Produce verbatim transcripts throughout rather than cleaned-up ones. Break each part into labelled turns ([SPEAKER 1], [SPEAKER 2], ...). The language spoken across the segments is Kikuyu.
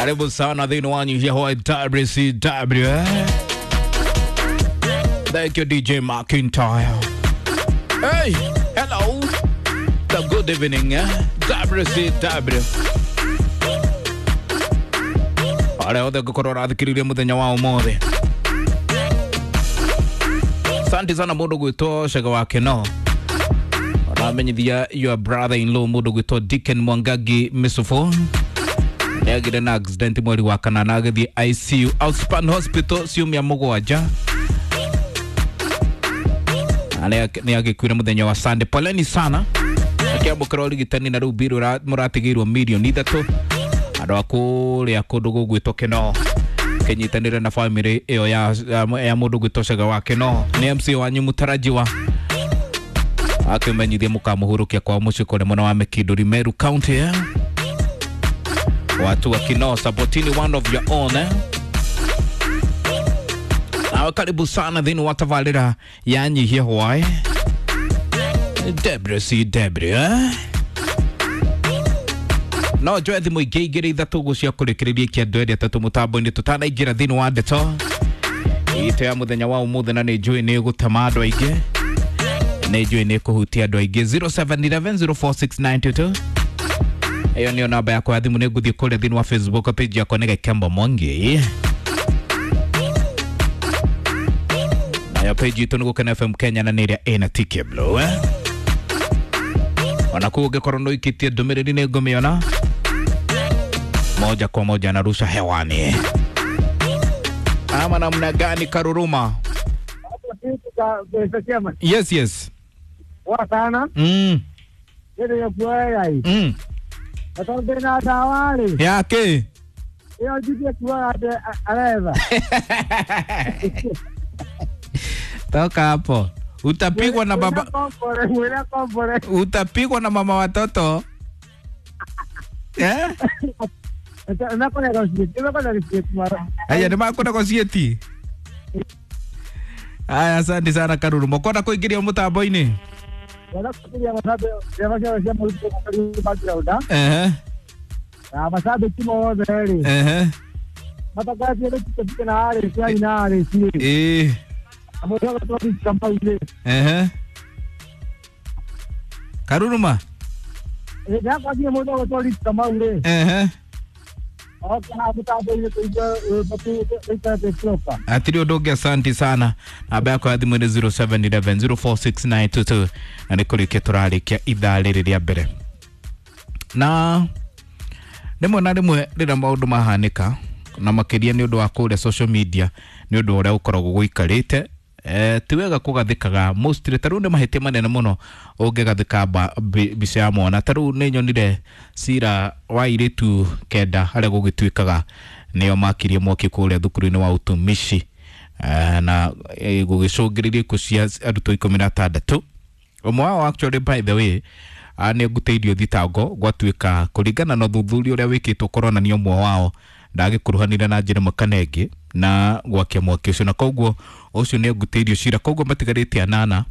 [SPEAKER 1] Karibu sana thĩinĩ wa Nyihia Hwaĩ W C W eh? Thank you D J McIntyre. Hey, hello. The good evening eh? W C W. Arĩa othe ngũkorwo ũrathikĩrĩria mũthenya wa ũmũthĩ. Asante sana mũndũ gwĩtwo Cega wa Keno. Ũramenyithia your brother in law mũndũ gwĩtwo Dicken Mwangangi Misufu. Nĩagire na accident mweri wa kanana agĩthiĩ I C U Outspan Hospital ciumia mũgwanja. Nĩ agĩkuire mũthenya wa Sunday. Poleni sana. Akĩamũkĩra ũrigitani na rĩu mbirũ mũratigĩirwo mirioni ithatũ. Andũ a kũrĩa kũndũ gũgwĩtwo Keno kĩnyitanĩre na family ĩyo ya, ya mũndũ gwĩtwo Cega wa Keno. Nĩ M C wanyu mũtarajiwa akĩmenyithia mũkamũhurũkia kwao mũciĩ kũrĩa mwena wa Mĩkindũri Meru County eh? Watu wa Kino supportini one of your own eh? Nawe karibu sana thĩinĩ wa tabarĩra ya Nyihia Hwaĩ W C W eh? No njoe thimũ ingĩ igĩrĩ ithatũ ũguo cia kũrĩkĩrĩria ikia andũ erĩ atatũ mũtambo-inĩ tũtanaingĩra thĩinĩ wa ndeto itũ ya mũthenya wa ũmũthĩ, na nĩ njũĩ nĩ ĩgũtema andũ aingĩ, nĩ njũĩ nĩ ĩkũhutia andũ aingĩ. zero seven one one zero four six nine two two ĩyo nĩyo namba yakwa ya thimũ. Nĩ ngũthiĩ kũrĩa thĩinĩ wa Facebook page yakwa nĩ Gĩkembo Mwangi, nayo page itũ nĩ Gũkena F M Kenya, na nĩ ĩrĩa ĩna T K Blue eh? Ona kũu ũngĩkorwo nĩ ũikĩtie ndũmĩrĩri nĩ ngũmĩona moja kwa moja narusha hewani. Ama namna gani Karuruma? Yes, yes.
[SPEAKER 2] Wa sana.
[SPEAKER 1] Mm.
[SPEAKER 2] Yeye ya kuaya hii.
[SPEAKER 1] Mm.
[SPEAKER 2] Atonde na tawali.
[SPEAKER 1] Yake.
[SPEAKER 2] Yeye jiji kuwa areva.
[SPEAKER 1] Toka hapo. Utapigwa na baba. Utapigwa na mama watoto. Eh? Aya nĩ makũnegotiate. Aya, asante sana Karuruma. Kwenda kũingĩria mũtambo-inĩ? Ehe. Ehe. Eh. Ehe. Karuruma. Ehe. Atiri ũndũ ũngĩ, asante sana. Namba yakwa ya thimũ nĩ zero seven one one zero four six nine two two na nĩ kũrĩkia tũrarĩkia ithaa rĩrĩ rĩa mbere. Na rĩmwe na rĩmwe rĩrĩa maũndũ mahanĩka, na makĩria nĩ ũndũ wa kũrĩa social media, nĩ ũndũ ũrĩa ũkoragwo gũikarĩte, eh, ti wega kũgathĩkaga mostly. Ta rĩu nĩ mahĩtia manene mũno ũngĩgathĩka mbica ya mwana. Ta rĩu nĩ nyonire cira wa airĩtu kenda harĩa gũgĩtuĩkaga nĩo makirie mwaki kũrĩa thukuru-inĩ wa utumishi, eh, na eh, gũgĩcũngĩrĩria ikuũ cia arutwo ikũmi na atandatũ. Ũmwe wao actually, by the way, nĩ ngutĩirio thitango gwatuĩka kũringana na ũthuthuria ũrĩa wĩkĩtwo kũronania ũmwe wao ndagĩkuruhanire na njĩra ĩmwe kana ĩngĩ na gwakia mwaki ũcio, na koguo ũcio nĩ ngutĩirio cira, koguo matigarĩte anana,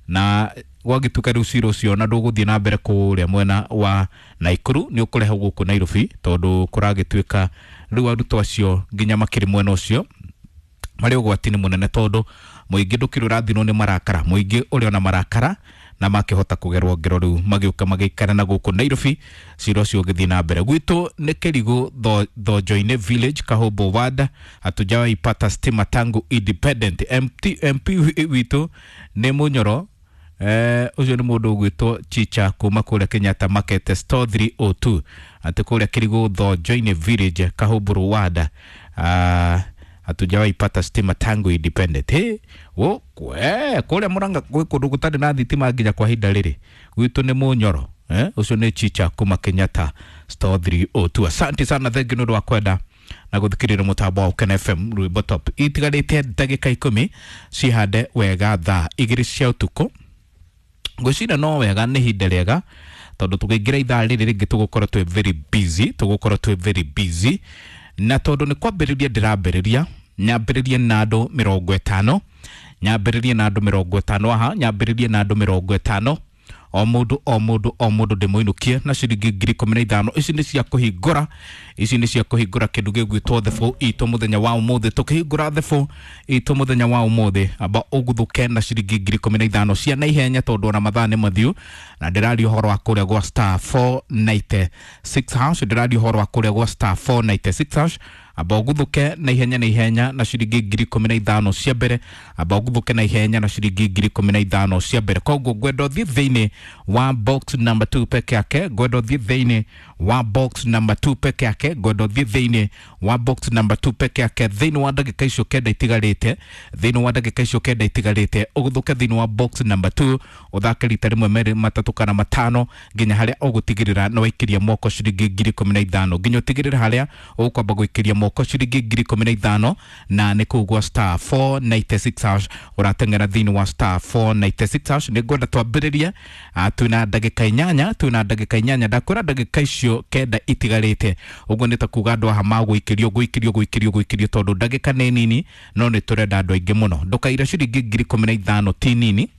[SPEAKER 1] na gwagĩtuĩka rĩu cira ũcio na ndũgũthiĩ na mbere kũrĩa mwena wa Naikuru, nĩ ũkũrehwo gũkũ Nairobi, tondũ kũragĩtuĩka rĩu arutwo acio nginya makĩrĩ mwena ũcio marĩ ũgwati-inĩ mũnene, tondũ mũingĩ ndũkĩrĩ ũrathirwo nĩ marakara, mũingĩ ũrĩ ona marakara na makĩhota kũgerwo ngero rĩu magĩũka magĩikara na gũkũ Nairobi. Cira ũcio ũgĩthiĩ na mbere. Gwitũ nĩ Kĩrigũ Thonjo-inĩ Village, Kahũmbũ Ward, hatujawahi pata stima tangu independent. M P witũ nĩ Mũnyoro, eh, ũcio nĩ mũndũ ũgwĩtwo Chicha kuma kũrĩa Kenyatta Market Store three oh two, atĩ kũrĩa Kĩrigũ Thonjo-inĩ Village, Kahũmbũ Ward, ah, hatujawahi pata stima tangu independent. Hey, wo kwe kũrĩa Murang'a gwĩ kũndũ gũtarĩ na thitima nginya kwa ihinda rĩrĩ. Gwitũ nĩ Mũnyoro, eh, ũcio nĩ Chicha kuma Kenyatta Store three oh two. Asante sana, thank you nĩ ũndũ wa kwenda na gũthikĩrĩria mũtambo wa Ũkena F M rwĩmbo top. Itigarĩte ndagĩka ikũmi cihande wega thaa igĩrĩ cia ũtukũ. Ngwĩciria no wega, nĩ ihinda rĩega, tondũ tũkĩingĩra ithaa rĩrĩ rĩngĩ tũgũkorwo twĩ very busy, tũgũkorwo twĩ very busy, na tondũ nĩ kwambĩrĩria ndĩrambĩrĩria, nyambĩrĩrie na andũ mĩrongo ĩtano, nyambĩrĩrie na andũ mĩrongo ĩtano aha, nyambĩrĩrie na andũ mĩrongo ĩtano. o mũndũ o mũndũ o mũndũ ndĩmũinũkie na ciringi ngiri ikũmi na ithano. Ici nĩ cia kũhingũra, ici nĩ cia kũhingũra kĩndũ gĩgwĩtwo The Four itũ mũthenya wa ũmũthĩ. Tũkĩhingũra The Four itũ mũthenya wa ũmũthĩ, amba ũguthũke na ciringi ngiri ikũmi na ithano cia naihenya, tondũ ona mathaa nĩ mathiu. Na ndĩraria ũhoro wa kũrĩa gwa star four ninety-six hash, ndĩraria ũhoro wa kũrĩa gwa star four ninety-six hash. Amba ũguthũke na ihenya na ihenya na ciringi ngiri ikũmi na ithano cia mbere, amba ũguthũke na ihenya na ciringi ngiri ikũmi na ithano cia mbere. Koguo ngwenda ũthiĩ thĩinĩ wa box number two peke yake, ngwenda ũthiĩ thĩinĩ wa box number two peke yake, ngwenda ũthiĩ thĩinĩ wa box number two peke yake. Thĩinĩ wa ndagĩka icio kenda itigarĩte, thĩinĩ wa ndagĩka icio kenda itigarĩte, ũguthũke thĩinĩ wa box number two, ũthake rita rĩmwe, merĩ, matatũ kana matano, nginya harĩa ũgũtigĩrĩra nĩ waikĩria moko ciringi ngiri ikũmi na ithano, nginya ũtigĩrĩre harĩa ũkwamba gũikĩria moko ciringi ngiri ikũmi na ithano. Na nĩ kũu gwa star four ninety-six hash, ũrateng'era thĩinĩ wa star four ninety-six hash. Nĩ ngwenda twambĩrĩrie. ah, twĩna ndagĩka inyanya, twĩna ndagĩka inyanya. Ndakwĩra ndagĩka icio kenda itigarĩte, ũguo nĩ ta kuga andũ aha magũikĩrio, gũikĩrio, gũikĩrio, gũikĩrio, tondũ ndagĩka nĩ nini, no nĩ tũrenda andũ aingĩ mũno. Ndũkaire ciringi ngiri ikũmi na ithano ti nini.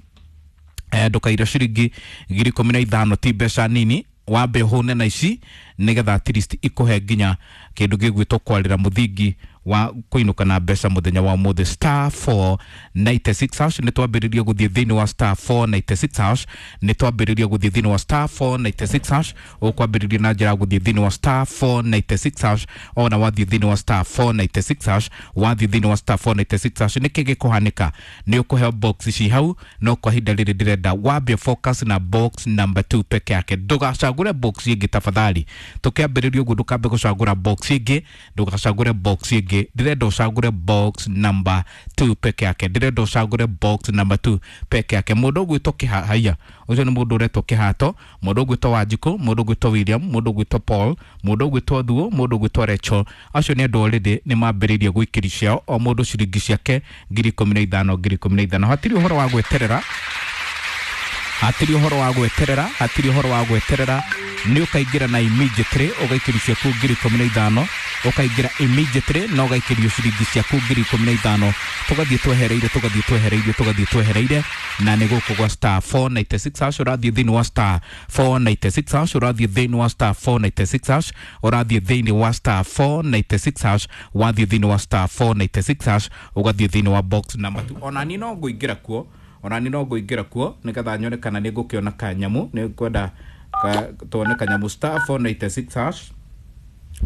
[SPEAKER 1] eh, ndũkaire ciringi ngiri ikũmi na ithano ti mbeca nini. Wambe ũhũne na ici nĩgetha at least ikũhe nginya kĩndũ gĩgwĩtwo kwarĩra mũthingi wa kũinũka na mbeca mũthenya wa ũmũthĩ. Star four ninety-six hash, nĩ twambĩrĩria gũthiĩ thĩinĩ wa star four ninety-six hash, nĩ twambĩrĩria gũthiĩ thĩinĩ wa star four ninety-six hash. Ũkwambĩrĩria na njĩra ya gũthiĩ thĩinĩ wa star four ninety-six hash. Ona wathiĩ thĩinĩ wa star four ninety-six hash, wathiĩ thĩinĩ wa star four ninety-six hash, nĩkĩ gĩkũhanĩka? Nĩ ũkũheo box ici hau, no kwa ihinda rĩrĩ ndĩrenda wambie focus na box number two peke yake. Ndũgacagũre box ĩngĩ tafadhali. Tũkĩambĩrĩria ũguo, ndũkambe gũcagũra box ĩngĩ, ndũgacagũre box ĩngĩ. Ndĩrenda ũcagũre box number two peke yake, ndĩrenda ũcagũre box number two peke yake. Mũndũ ũgwĩtwo Kĩhahaiya, ũcio nĩ mũndũ ũretwo Kĩhato, mũndũ ũgwĩtwo Wanjikũ, mũndũ ũgwĩtwo William, mũndũ ũgwĩtwo Paul, mũndũ ũgwĩtwo Thuo, mũndũ ũgwĩtwo Recho, acio nĩ andũ already nĩ mambĩrĩirie gũikĩri ciao, o mũndũ ciringi ciake ngiri ikũmi na ithano, ngiri ikũmi na ithano. Hatirĩ ũhoro wa gweterera, hatirĩ ũhoro wa gweterera, hatirĩ ũhoro wa gweterera. Nĩ ũkaingĩra na immediately ũgaikĩrio ciaku ngiri ikũmi na ithano, ũkaingĩra immediately na ũgaikĩrio ciringi ciaku ngiri ikũmi na ithano. Tũgathiĩ twehereire, tũgathiĩ twehereire, tũgathiĩ twehereire. Na nĩ gũkũ gwa star four ninety-six hash, ũrathiĩ thĩinĩ wa star four ninety-six hash, ũrathiĩ thĩinĩ wa star four ninety-six hash, ũrathiĩ thĩinĩ wa star four ninety-six hash. Wathiĩ thĩinĩ wa star four ninety-six hash, ũgathiĩ thĩinĩ wa box number two. Ona niĩ no ngũingĩra kuo, ona niĩ no ngũingĩra kuo nĩgetha nyone kana nĩ ngũkĩona kanyamũ. Nĩ ngwenda ka, tuone kanyamũ. Star four ninety-six hash.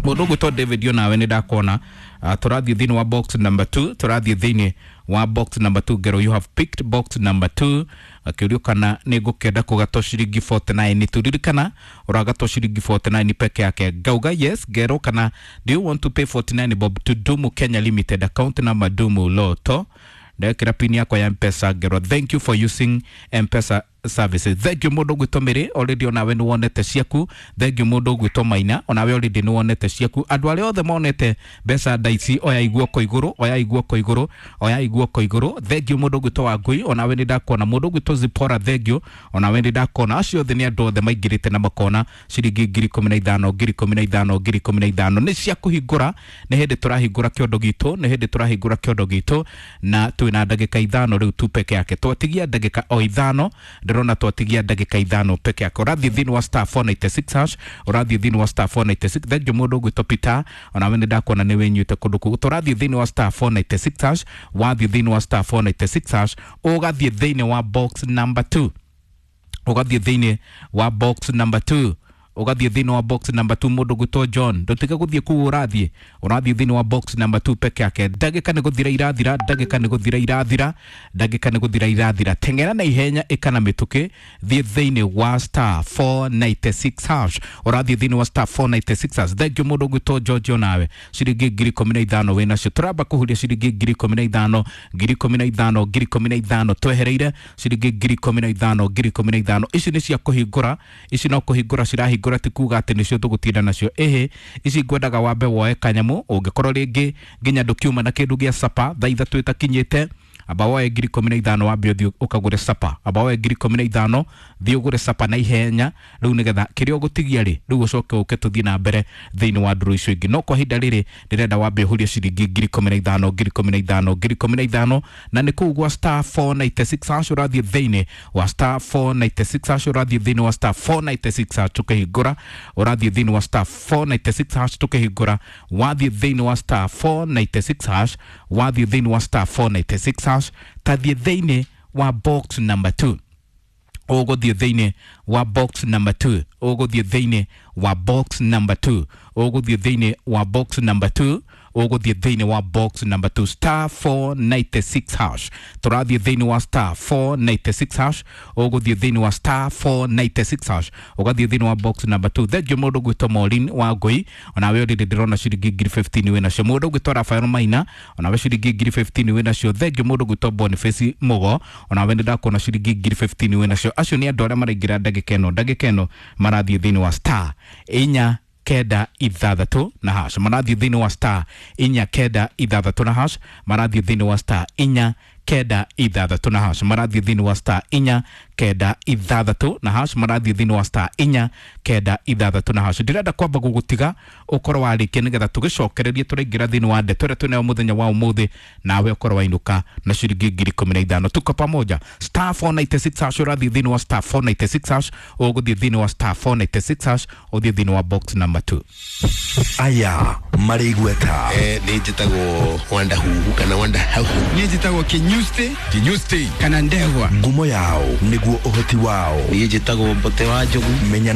[SPEAKER 1] Mũndũ ũgwĩtwo David, onawe nĩ ndakuona. uh, tũrathiĩ thĩinĩ wa box number two, tũrathiĩ thĩinĩ wa box number two. Ngero, you have picked box number two. Akĩũrio kana nĩ ngũkĩenda kũgatwo ciringi forty-nine. Turirikana ũragatwo ciringi forty-nine peke yake. Ngauga yes. Ngero kana do you want to pay forty-nine bob to Dumu Kenya Limited, account number Dumu Loto? Ndekĩra pin yakwa ya Mpesa. Ngero, thank you for using Mpesa services. Thank you. Mũndũ ũgwĩtwo Mĩrĩ, already onawe nĩ wonete ciaku. Thank you. Mũndũ ũgwĩtwo Maina, onawe already nĩ wonete ciaku. Andũ arĩa othe monete mbeca ndaici, oya iguoko igũrũ, oya iguoko igũrũ, oya iguoko igũrũ. Thank you. Mũndũ ũgwĩtwo Wangui, onawe nĩ ndakuona. Mũndũ ũgwĩtwo Zipora, thank you, onawe nĩ ndakuona. Acio othe nĩ andũ othe maingĩrĩte na makona ciringi ngiri ikũmi na ithano, ngiri ikũmi na ithano, ngiri ikũmi na ithano. Nĩ cia kũhingũra, nĩ hĩndĩ tũrahingũra kĩondo gitũ, nĩ hĩndĩ tũrahingũra kĩondo gitũ, na twĩna ndagĩka ithano rĩu tu peke yake. Twatigia ndagĩka o ithano, ndĩrona twatigia ndagĩka ithano peke yake. Ũrathiĩ thĩinĩ wa star four ninety-six hash, ũrathiĩ thĩinĩ wa star four ninety-six. Thank you. Mũndũ ũgwĩtwo Peter, onawe nĩ ndakuona nĩ wĩnyuĩte kũndũ kũu. Tũrathiĩ thĩinĩ wa star four ninety-six hash. Wathiĩ thĩinĩ wa star four ninety-six hash, ũgathiĩ thĩinĩ wa box number two, ũgathiĩ thĩinĩ wa box number two, ũgathiĩ thĩinĩ wa box number two. Mũndũ gwĩtwo John, ndũtige gũthiĩ kũu, ũrathiĩ ũrathiĩ thĩinĩ wa box number two peke yake. Ndagĩka nĩ gũthira irathira, ndagĩka nĩ gũthira irathira, ndagĩka nĩ gũthira irathira. Teng'era na ihenya, ĩka na mĩtũkĩ, thiĩ thĩinĩ wa star four ninety-six hash, ũrathiĩ thĩinĩ wa star four ninety-six hash. Thank you. Mũndũ gwĩtwo George, onawe ciringi ngiri ikũmi na ithano wĩnacio. Tũramba kũhuria ciringi ngiri ikũmi na ithano, ngiri ikũmi na ithano, ngiri ikũmi na ithano. Twehereire ciringi ngiri ikũmi na ithano, ngiri ikũmi na ithano. Ici nĩ cia kũhingũra, ici no kũhingũra cirahingũra, ti kuga atĩ nĩcio tũgũtinda nacio. Ĩhĩ, ici ngwendaga wambe woe kanyamũ, ũngĩkorwo rĩngĩ nginya ndũkiuma na kĩndũ gĩa sapa thaa ithatũ ĩtakinyĩte. Amba woe ngiri ikũmi na ithano wambe ũthiĩ ũkagũre sapa. Amba woe ngiri ikũmi na ithano thiĩ ũgũre sapa na ihenya rĩu, nĩgetha kĩrĩa ũgũtigia rĩ, rĩu ũcoke ũke tũthiĩ na mbere thĩinĩ wa ndũrũ icio ingĩ. No kwa ihinda rĩrĩ ndĩrenda wambe ũhurie ciringi ngiri ikũmi na ithano, ngiri ikũmi na ithano, ngiri ikũmi na ithano, na nĩ kũu gwa star four ninety-six hash. Ũrathiĩ thĩinĩ wa star four ninety-six hash, ũrathiĩ thĩinĩ wa star four ninety-six hash tũkĩhingũra, ũrathiĩ thĩinĩ wa star four ninety-six hash tũkĩhingũra, wathiĩ thĩinĩ wa star four ninety-six hash, wathiĩ thĩinĩ wa star four ninety-six hash, tathiĩ thĩinĩ wa box number two. Ũgũthiĩ thĩinĩ wa box number two, ũgũthiĩ thĩinĩ wa box number two, ũgũthiĩ thĩinĩ wa box number two, ũgũthiĩ thĩinĩ wa box number two, star four ninety-six hash. Tũrathiĩ thĩinĩ wa star four ninety-six hash, ũgũthiĩ thĩinĩ wa star four ninety-six hash, ũgathiĩ thĩinĩ wa box number two. Thengiũ mũndũ gwĩtwo Maureen wa Ngũi, onawe ũrĩrĩ ndĩrona ciringi ngiri fifteen wĩ nacio. Mũndũ gwĩtwo Rafael Maina, onawe ciringi ngiri fifteen wĩ nacio. Thengiũ mũndũ gwĩtwo Boniface Mugo, onawe nĩ ndakuona ciringi ngiri fifteen wĩ nacio. Acio nĩ andũ arĩa maraingĩra ndagĩka ĩno. Ndagĩka ĩno marathiĩ thĩinĩ wa star inya kenda ithathatũ na hash, marathiĩ thĩinĩ wa star inya kenda ithathatũ na hash, marathiĩ thĩinĩ wa star inya kenda ithathatũ na hash, marathiĩ thĩinĩ wa star inya kenda ithathatũ na hash, marathiĩ thĩinĩ wa star inya kenda ithathatũ na hash. Ndĩrenda kwamba gũgũtiga ũkorwo warĩkia, nĩgetha tũgĩcokererie tũraingĩra thĩinĩ wa ndeto ĩrĩa twĩnayo mũthenya wa ũmũthĩ, nawe ũkorwo wainũka na ciringi ngiri ikũmi na ithano. Tuko pamoja. Star four ninety-six hash, ũrathiĩ thĩinĩ wa star four ninety-six hash, ũgũthiĩ thĩinĩ wa star four ninety-six hash, ũthiĩ thĩinĩ wa box number two.
[SPEAKER 3] Aya marĩ igweta.
[SPEAKER 4] Eh, nĩ njĩtagwo Wanda Huhu kana Wanda Hauhu.
[SPEAKER 5] Niĩ njĩtagwo Kinyusti.
[SPEAKER 4] Kinyusti.
[SPEAKER 5] Kana Ndegwa.
[SPEAKER 3] Ngumo yao nĩguo ũhoti wao.
[SPEAKER 4] Niĩ njĩtagwo Mbote wa Njogu.
[SPEAKER 3] Menya.